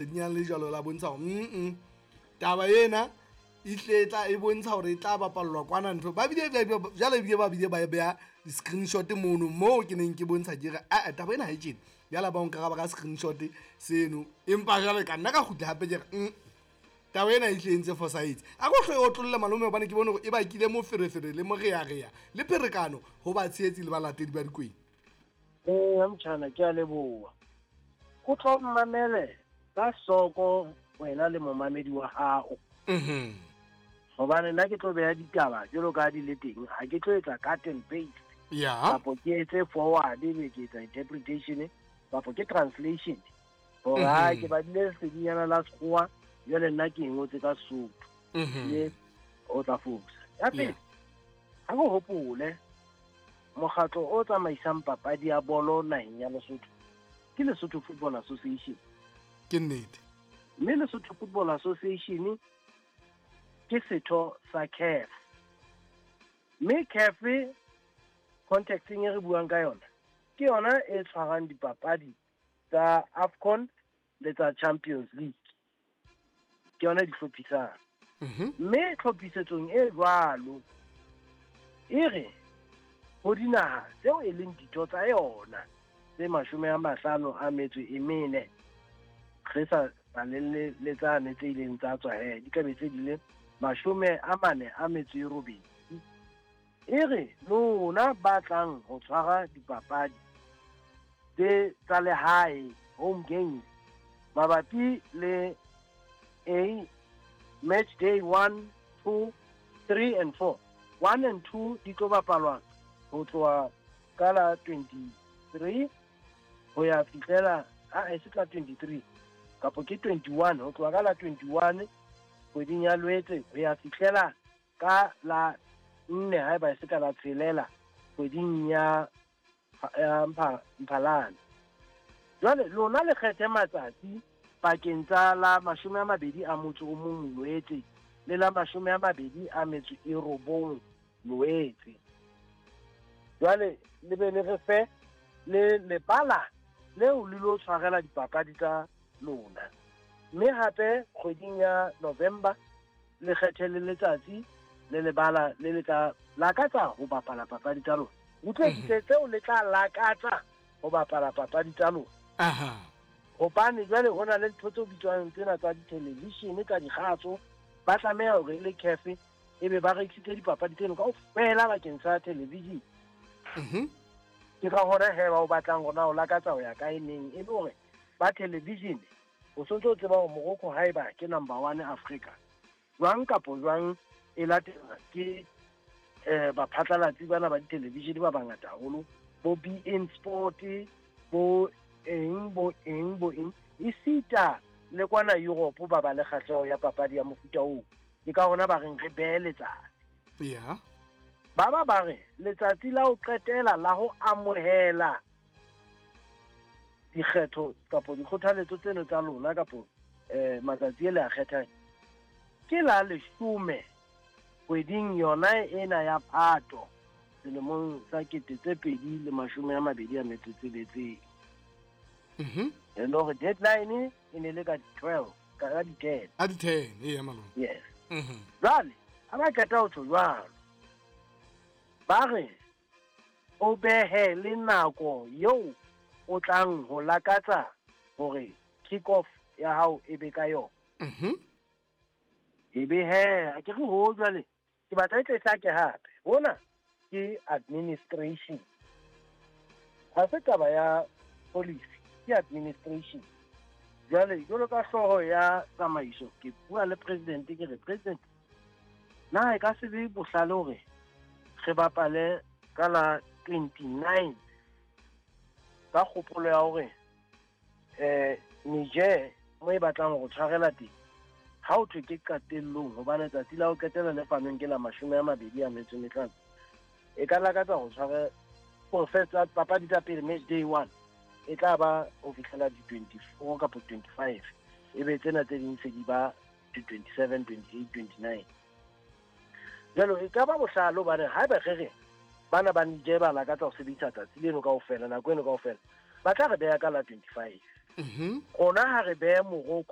Lesedinyana le jwalo la bontsha hore mm taba ena e hle tla e bontsha hore e tla bapallwa kwana ntho ba bile jwale ebile ba bile ba beha di-screenshot mono moo ke neng ke bontsha ke re aa taba ena ha e tjena jwale ba nkaraba ka screenshot seno empa jwale ka nna ka kgutla hape ke re taba ena e hle e ntse fosahetse a ko hle o tlolle malome hobane ke bone hore e bakile moferefere le morearea le pherekano ho batshehetsi le balatedi ba dikwena. Eya motjhana ke a leboha. O tlo mmamele ka hloko wena le momamedi wa hao. Hobane nna ke tlo beha ditaba jwalo ka di le teng, ha ke tlo etsa cut and paste. Kapo ke etse forward ebe ke etsa interpretation kapo ke translation. Hore ha ke badile lesedinyana la sekgowa jwale nna ke e ngotse ka Sesotho. Mme o tla fosa. Ya pele, ha ke hopole mokgatlo o tsamaisang papadi ya bolo naheng ya Lesotho ke Lesotho Football Association. Ke nnete. Mme Lesotho Football Association ke setho sa CAF. Mme CAF contexteng e re buang ka yona ke yona e tshwarang dipapadi tsa AFCON le tsa Champions League. Ke yona di hlophisang. Mme tlhophisetsong e jwalo e re ho dinaha tseo e leng ditho tsa yona tse 54, re sa balelle le tsane tse ileng tsa tswa he, di ka be tse di le 48. E re lona ba tlang ho tshwara dipapadi tse tsa lehae, home games, mabapi le A match day 1, 2, 3 and 4. 1 and 2 di tlo bapalwa ho tloha ka la 23 ho ya fihlela a e se ka 23 kapo ke 21, ho tloha ka la 21 kgweding ya Lwetse ho ya fihlela ka la 4 haeba e se ka la 6 kgweding ya Mphalane. Jwale lona le kgethe matsatsi pakeng tsa la 21 Loetse le la 29 Loetse. Jwale le be le re fe le lebala leo le lo tshwarela dipapadi tsa lona. Mme hape kgweding ya November le kgethe le letsatsi le lebala le le tla lakatsa ho bapala papadi tsa lona. Utlwe tseo le tla lakatsa ho bapala papadi tsa lona. Hobane jwale ho na le ntho tseo bitswang tsena tsa di-television tsa dikgatso, ba tlameha hore le CAF ebe ba rekisitse dipapadi tseno kaofela bakeng sa television. Ke ka hona he ba o batlang hore na o lakatsa ho ya kae neng, e le hore ba television o sontse o tseba hore Morocco haeba ke number 1 Africa jwang kapo jwang e latela ke baphatlalatsi bana ba di-television ba bangata haholo, bo beIN Sport, bo eng bo eng bo eng, esita le kwana Europe ba ba le kgahleho ya papadi ya mofuta oo. Ke ka hona ba reng re behe letsatsi. Ba ba re letsatsi la ho qetela la ho amohela dikgetho kapo dikgothaletso tseno tsa lona kapo matsatsi e le a kgethang ke la 10 kgweding yona ena ya Phato selemong sa 2026. E le hore deadline e ne le ka 12 ka di 10. A di 10 eya malome. Yes. Jwale ha ba qeta ho tjho jwalo, ba re o behe le nako eo o tlang ho lakatsa hore kick off ya hao e be ka yona. E be he, ha ke re ho jwale ke batla e tle hlake hape. Hona ke administration. Ha se taba ya policy, ke administration. Jwale jwalo ka hlooho ya tsamaiso ke bua le president, ke re president, na e ka se be bohlale hore re bapale ka la 29 ka kgopolo ya hore Niger mo e batlang ho tshwarela teng ha o thwe ke qetellong, hobane tsatsi la ho qetela le fanweng ke la 25, e ka lakatsa ho tshware for first papadi tsa pele match day 1 e tla ba ho fihlela di 24 kapa 25, e be tsena tse ding se di ba di 27, 28, 29. Jwale e ka ba bohlale hobane haeba re re bana ba Niger ba lakatsa ho sebedisa tsatsi leno kaofela, nako eno kaofela, ba tla re beha ka la 25. Rona ha re behe Morocco